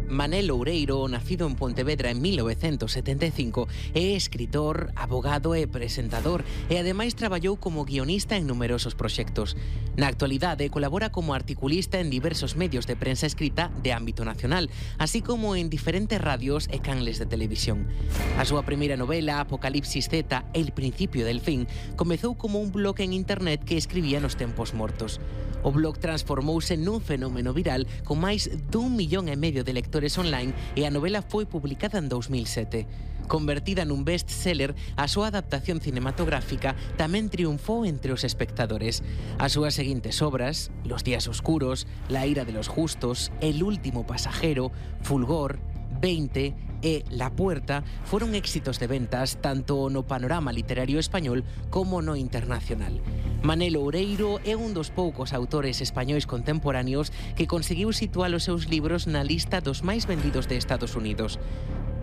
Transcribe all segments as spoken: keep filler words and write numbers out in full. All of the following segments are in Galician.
Manel Loureiro, nacido en Pontevedra en mil novecientos setenta e cinco, é escritor, abogado e presentador e ademais traballou como guionista en numerosos proxectos. Na actualidade colabora como articulista en diversos medios de prensa escrita de ámbito nacional, así como en diferentes radios e canles de televisión. A súa primeira novela, Apocalipsis Z, El principio del fin, comezou como un blog en internet que escribía nos tempos mortos. O blog transformouse nun fenómeno viral con máis dun millón e medio de lectores online e a novela foi publicada en dous mil sete. Convertida nun best-seller, a súa adaptación cinematográfica tamén triunfou entre os espectadores. As súas seguintes obras, Los días oscuros, La ira de los justos, El último pasajero, Fulgor, veinte e La puerta foron éxitos de ventas tanto no panorama literario español como no internacional. Manel Loureiro é un dos poucos autores españois contemporáneos que conseguiu situar os seus libros na lista dos máis vendidos de Estados Unidos.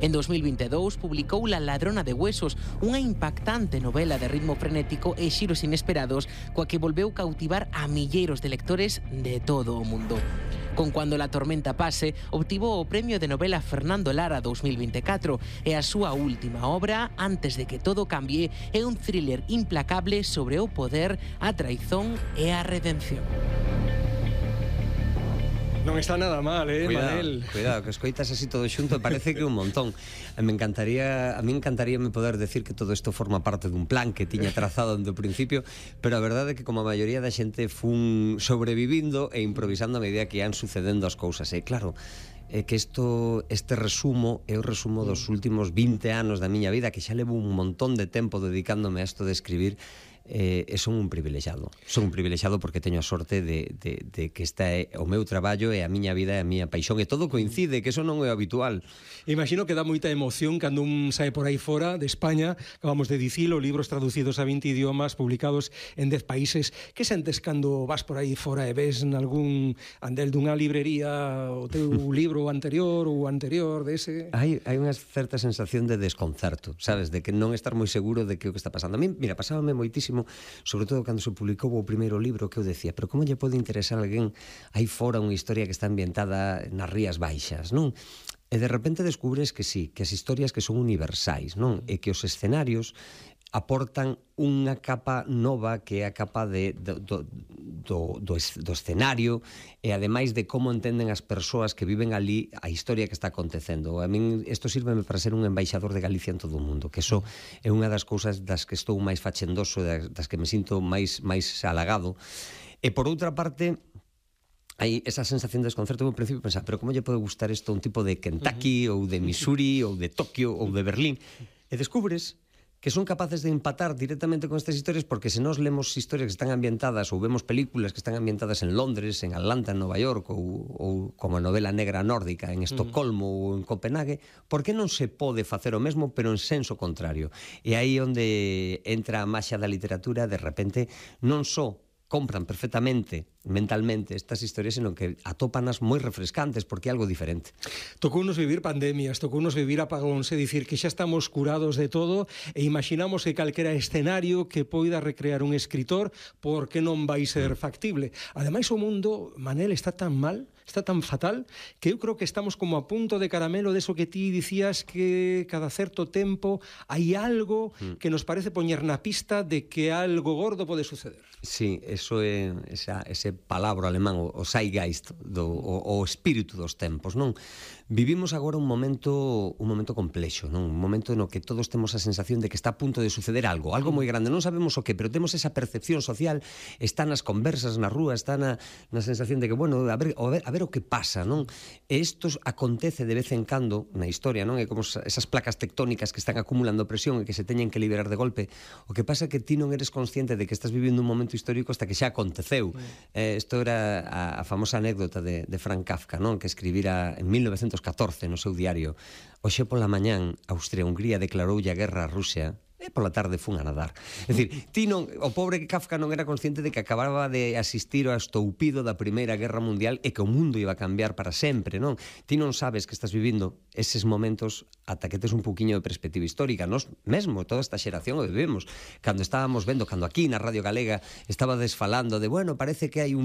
En dos mil vinte e dous publicou La ladrona de huesos, unha impactante novela de ritmo frenético e xiros inesperados coa que volveu cautivar a milleiros de lectores de todo o mundo. Con Cuando la tormenta pase, obtivo o premio de novela Fernando Lara dos mil vinte e catro e a súa última obra, Antes de que todo cambie, é un thriller implacable sobre o poder, a traizón e a redención. Non está nada mal, eh, cuidado, Manel. Cuidado, que escoitas así todo xunto, parece que un montón. Me encantaría, a mí encantaría me poder decir que todo isto forma parte dun plan que tiña trazado desde o principio, pero a verdade é que como a maioría da xente fun sobrevivindo e improvisando a medida que ian sucedendo as cousas. E claro, é que isto, este resumo é o resumo dos últimos vinte anos da miña vida, que xa levo un montón de tempo dedicándome a isto de escribir. Eh, e son un privilexiado son un privilexiado porque teño a sorte de, de, de que esta é o meu traballo e a miña vida e a miña paixón e todo coincide, que eso non é habitual. Imagino que dá moita emoción cando un sae por aí fora de España, acabamos de dicilo, libros traducidos a vinte idiomas, publicados en dez países. Que sentes cando vas por aí fora e ves nalgún andel dunha librería o teu libro anterior ou anterior dese? Hai, hai unha certa sensación de desconcerto, sabes, de que non estar moi seguro de que o que está pasando. A mí, mira, pasábame moitísimo, sobre todo cando se publicou o primeiro libro, que eu decía, pero como lle pode interesar a alguén aí fora unha historia que está ambientada nas Rías Baixas, non? E de repente descubres que sí, que as historias que son universais, non? E que os escenarios aportan unha capa nova que é a capa de, do, do, do, do, do escenario e ademais de como entenden as persoas que viven ali a historia que está acontecendo. A min isto sírveme para ser un embaixador de Galicia en todo o mundo, que iso é unha das cousas das que estou máis fachendoso, das, das que me sinto máis, máis halagado. E por outra parte, hai esa sensación de desconcerto. Eu ao principio pensaba, pero como lle pode gustar isto a un tipo de Kentucky ou de Missouri ou de Tokio ou de Berlín? E descubres que son capaces de empatar directamente con estas historias, porque se nós lemos historias que están ambientadas ou vemos películas que están ambientadas en Londres, en Atlanta, en Nova York ou, ou como a novela negra nórdica en Estocolmo mm. ou en Copenhague, por que non se pode facer o mesmo pero en senso contrario? E aí onde entra a maxia da literatura, de repente non só compran perfectamente mentalmente estas historias, senón que atópanas moi refrescantes porque é algo diferente. Tocounos vivir pandemias, tocounos vivir apagóns, é dicir, que xa estamos curados de todo e imaginamos que calquera escenario que poida recrear un escritor, por que non vai ser factible? Ademais, o mundo, Manel, está tan mal, está tan fatal, que eu creo que estamos como a punto de caramelo deso que ti dicías que cada certo tempo hai algo que nos parece poñer na pista de que algo gordo pode suceder. Sí, eso é esa, ese palabra alemán, o, o Zeitgeist, do, o, o espírito dos tempos, non? Vivimos agora un momento un momento complexo, non? Un momento no que todos temos a sensación de que está a punto de suceder algo, algo moi grande, non sabemos o que, pero temos esa percepción social, está nas conversas na rúa, está na, na sensación de que, bueno, a ver, a ver, a ver o que pasa, non? E isto acontece de vez en cando na historia, non? É como esas placas tectónicas que están acumulando presión e que se teñen que liberar de golpe. O que pasa é que ti non eres consciente de que estás vivindo un momento histórico hasta que xa aconteceu. Eh, isto era a, a famosa anécdota de, de Frank Kafka, non? Que escribira en mil novecientos catorce no seu diario: hoxe pola mañán Austria-Hungría declaroulle a guerra a Rusia e pola tarde fun a nadar. É dicir, ti non, o pobre Kafka non era consciente de que acababa de asistir ao estoupido da Primeira Guerra Mundial e que o mundo iba a cambiar para sempre, non? Ti non sabes que estás vivindo eses momentos ata que tes un poquinho de perspectiva histórica. Nos mesmo, toda esta xeración o vivimos. Cando estábamos vendo, cando aquí na Radio Galega estaba desfalando de, bueno, parece que hai un